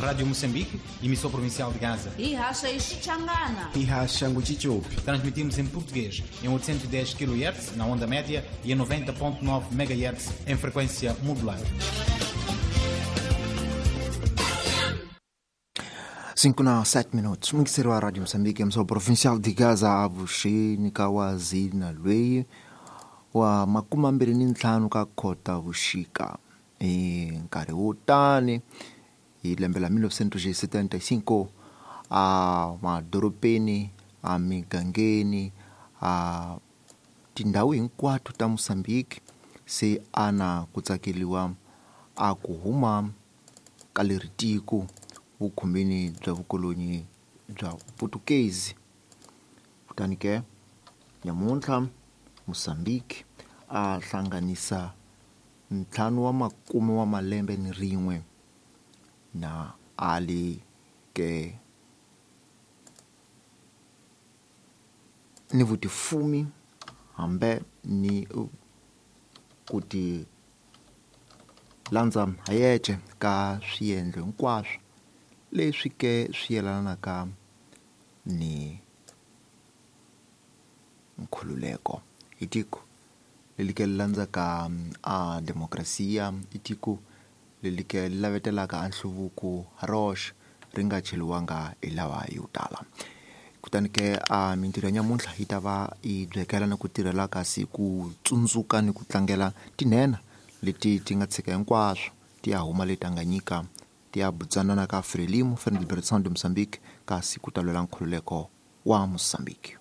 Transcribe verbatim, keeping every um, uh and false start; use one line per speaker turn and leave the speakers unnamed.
Rádio Moçambique, emissão provincial de Gaza.
Ihasha Ixichangana.
Ihasha Nguchichopi.
Transmitimos em português em oitocentos e dez quilohertz na onda média e em noventa ponto nove megahertz em frequência modulada.
cinco na sete minutos. Muito a Rádio Moçambique, emissão provincial de Gaza, avuxeni ka wazina lweyi wa makumi mambirhi ni ntlhanu ka khota vuxika hi nkarhi wo tani hi lembe la mil novecentos e setenta e cinco a madorobeni a migangeni a tindhawu hinkwato ta Moçambique se ana ku tsakeliwa a ku huma ka leri tiko vukhumbini bya vukolonyi bya Putukezi. Kutani ke nyamuntlha Moçambique a hlanganisa ntlhanu wa makume wa malembe ni rin'we na ali ke ni vutifumi hambe ni ku ti landza hayexe ka swiendlo hinkwaswo leswi ke swi yelanaka ni nkhululeko. I tiko leri ke landzaka a demokrasiya, i tiko leri ke lavetelaka a nhluvuko roxe ri nga cheliwanga hi lawa yo tala. Kutani ke a mintirho ya nyamuntlha yi ta va yi byekela na ku tirhela kasi ku tsundzuka ni ku tlangela tinhena leti ti nga tshika hinkwaswo ti ya huma le Tanganyika ti ya butsanana ka Frelimo, Front Liberation de Mozambique, kasi ku ta lwela nkhululeko wa Mozambique.